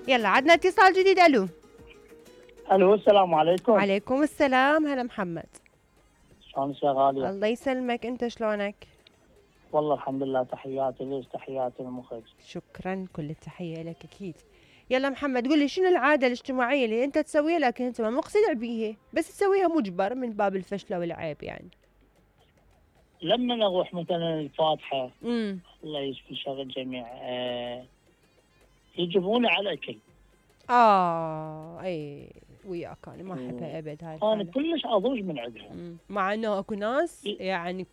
يلا عندنا اتصال جديد. الو الو السلام عليكم. وعليكم السلام. هلا محمد. شلونك يا غالية؟ الله يسلمك، انت شلونك؟ والله الحمد لله. تحياتي ليش، تحياتي للمخرج. شكرا، كل التحية لك اكيد. يلا محمد قول لي شنو العادة الاجتماعية اللي انت تسويها لكن انت ما مقتنع بيها بس تسويها مجبر من باب الفشلة والعيب يعني؟ لما اروح مثلا الفاتحة الله يشفي شر الجميع يجيبوني على الاكل. اي وياك انا ما احبها ابد هاي انا كلش اضوج من عندها. مع انه اكو ناس يعني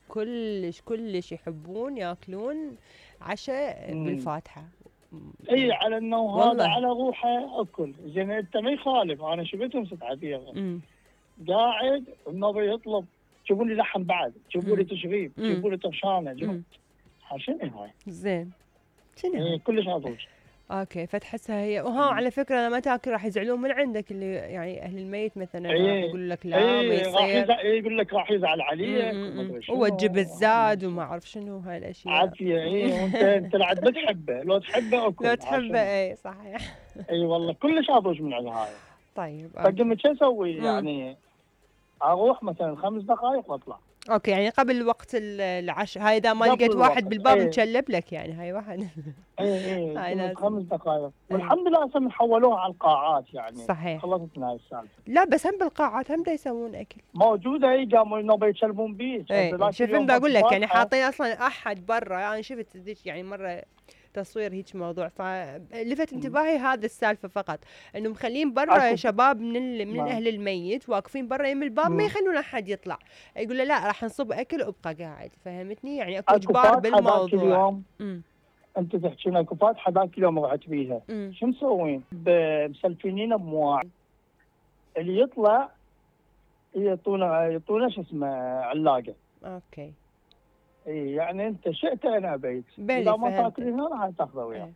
كلش يحبون ياكلون عشاء بالفاتحة. اي على انه هذا على روحه اكل زين. انت ما يخالف، انا شفتهم ست عبير قاعد النبي يطلب جيبوا لي لحم بعد، جيبوا لي تشريب، جيبوا لي طرشانه، شنو هاي؟ زين شنو؟ كلش اضوج. اوكي فتحسها هي وها على فكره لما تاكل راح يزعلون من عندك اللي يعني اهل الميت مثلا راح يقول لك لا ما يصير، يقول لك راح يزعل عليك وتجيب الزاد وما اعرف شنو هاي الاشياء عافيه. وانت العاد بتحبه، لو تحبه اكل، لو تحبه اي صحيح. اي والله كلش اضوج من هاي. طيب فقمت شو اسوي يعني؟ اروح مثلا 5 دقائق واطلع. اوكي يعني قبل وقت العشاء هاي اذا ما لقيت واحد بالباب متشلب لك يعني هاي واحد. اي 5 دقائق والحمد لله هسه حولوها على القاعات يعني. صحيح خلصتنا هاي السالفه. لا بس هم بالقاعات هم دا يسوون اكل موجوده. اي قاموا انه يشلبون بيج. شوف بقول لك يعني حاطين اصلا احد برا. انا يعني شفت يعني مره تصوير هيك موضوع فلفت انتباهي هذا السالفه فقط انه مخلين برا شباب من اهل الميت واقفين برا يم الباب ما يخلون احد يطلع. يقول له لا راح نصب اكل وابقى قاعد. فهمتني يعني اكو اجبار بالموضوع. انت تحكين اكو فاتحه ذاك اليوم رحت بيها. شو مسوين؟ مسلفينينا بمواعيد اللي يطلع يعطونا شو اسمه علاقه. اوكي اي يعني انت شئت انا ابيت اذا ما تاكل هنا راح تاخذه وياك.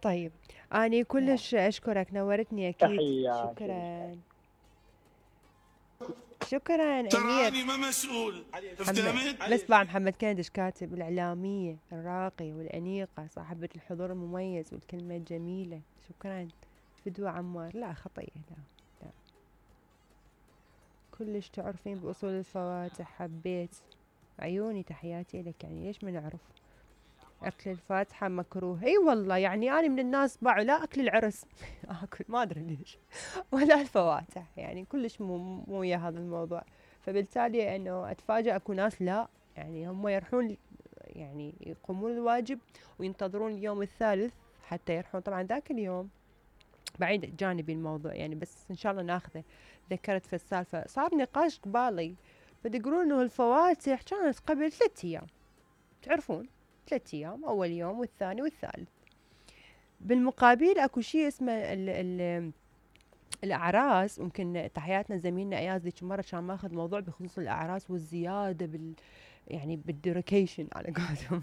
طيب اني كلش اشكرك نورتني اكيد. تحياتي. شكرا امير. تراني ما مسؤول. بس بعد محمد كندش كاتب الاعلاميه الراقيه والانيقه صاحبه الحضور المميز والكلمه الجميله. شكرا فدوى عمار. لا خطيه لا كلش تعرفين باصول الفواتح. حبيت عيوني تحياتي لك. يعني ليش ما نعرف اكل الفاتحه مكروه؟ اي والله يعني انا من الناس باعوا لا اكل العرس اكل ما ادري ليش ولا الفواتح يعني كلش مو ويا هذا الموضوع. فبالتالي انه اتفاجئ اكو ناس لا يعني هم يروحون يعني يقومون الواجب وينتظرون اليوم الثالث حتى يروحون. طبعا ذاك اليوم بعيد جانبي الموضوع يعني بس ان شاء الله ناخذه. ذكرت في السالفه صار نقاش قبالي فيقولون انه الفواتح كانت قبل 3 ايام. تعرفون 3 ايام اول يوم والثاني والثالث. بالمقابل اكو شيء اسمه الاعراس. ممكن تحياتنا زميلنا اياز ذيك مره كان ماخذ موضوع بخصوص الاعراس والزياده يعني بالديريكيشن على قولتهم.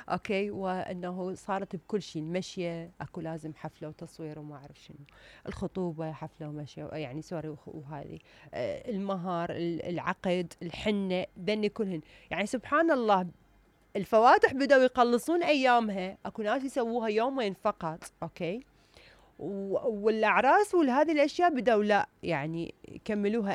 اوكي وانه صارت بكل شيء. المشيه اكو لازم حفله وتصوير وما اعرف شنو. الخطوبه حفله ومشيه يعني سوري وهذه المهر العقد الحنه ذني كلهن. يعني سبحان الله الفواتح بدأوا يقلصون ايامها. اكو ناس يسووها يومين فقط. اوكي والاعراس وهذه الاشياء بدأوا لا يعني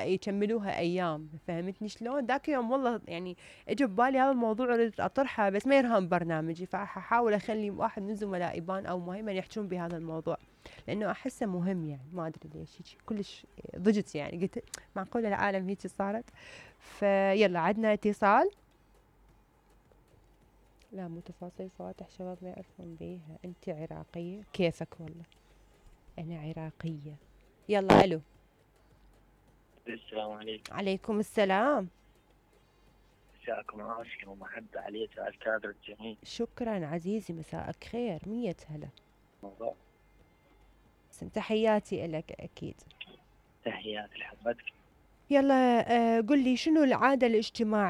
يكملوها ايام. فهمتني شلون؟ ذاك يوم والله يعني اجى ببالي هذا الموضوع اريد اطرحه بس ما يرهم برنامجي فحاول اخلي واحد من زملائي يبان او مهما يحجون بهذا الموضوع لانه احسه مهم يعني ما ادري ليش كلش ضجت يعني قلت معقوله العالم هيك صارت. فيلا عندنا اتصال. لا مو تفاصيل فواتح شباب ما يعرفون بيها. انت عراقيه؟ كيفك والله انا عراقيه. يلا الو. السلام عليكم. عليكم السلام. مساءكم عافيه ومحبه عليك على الكادر الجميل. شكرا عزيزي مساءك خير. 100 هلا. موضوع تحياتي لك اكيد. تحياتي لحضرتك. يلا قل لي شنو العاده الاجتماعيه